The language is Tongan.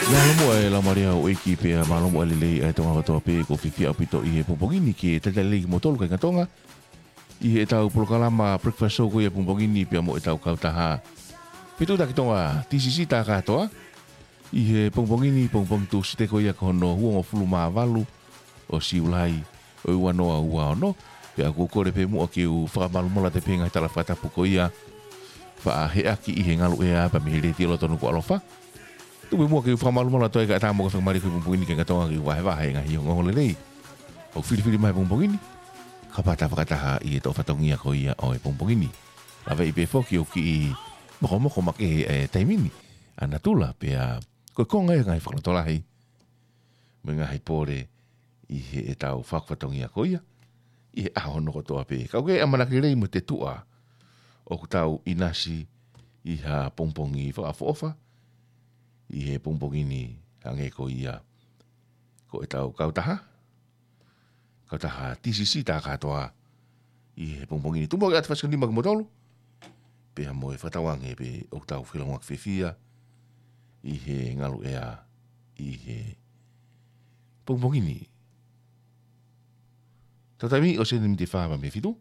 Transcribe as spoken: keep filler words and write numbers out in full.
Mālō muʻa e laumālie ʻo e ʻEiki pea mālō muʻa e lelei ʻa e Tonga kotoa pē, ʻoku ou fiefia ʻaupito ʻi he pongipongi ni ke talitali lelei kimoutolu kāinga Tonga ʻi heʻetau polokalama Breakfast Show ko ia pongipongi ni pea mo ʻetau kautaha Fetuʻutaki Tonga, T C C, tā kātoa ʻi he pongipongi ni, pongipongi Tūsite ko ia ko hono uongofulu mā valu ʻo Siulai ʻo e ua noa ua ono. Pea ʻoku ou kole pē muʻa ke u fakamalumalu atu pē he ngaahi tala fakatapu ko ia faʻa heʻaki ʻi he ngalu ʻea pea mei he Letiō Loto Nukuʻalofa. Tuku pē muʻa ke u fakamalumalu atu ai kae ʻatā mo e faingamālie ko ia pongipongi ni kāinga Tonga ke u vahevahe e ngaahi ongoongo lelei ʻoku filifili mai he pongipongi ni, kapau te ta fakataha ʻi he toʻo fatongia ko ia ʻo e pongipongi ni. Laveʻi pē foki ʻoku kiʻi mokomoko makehe e taimi ni ʻa natula, pea ko e konga ia e ngaahi fakalotolahi mo e ngaahi pole ʻi heʻetau fakaʻosi fatongia ko ia ʻi he ʻaho hono kotoa pē. Ka ʻoku ʻi ai e ʻamanaki lelei mo e tuʻa ʻoku tau ʻinasi ʻi ha pongipongi fakaʻofoʻofa ʻi he pongipongi ni, hangē ko ia ko ʻetau kautaha, kautaha T C C tā kātoa ʻi he pongipongi ni. Tuku muʻa ke ʻoatu e fasinga nima kimoutolu pea mo e fakatauange pē ʻoku tau feʻiloaki fiefia ʻi he ngalu ʻea ʻi he pongipongi ni. Tau taimi ʻosi e miniti ʻe fā pea mei he fitu.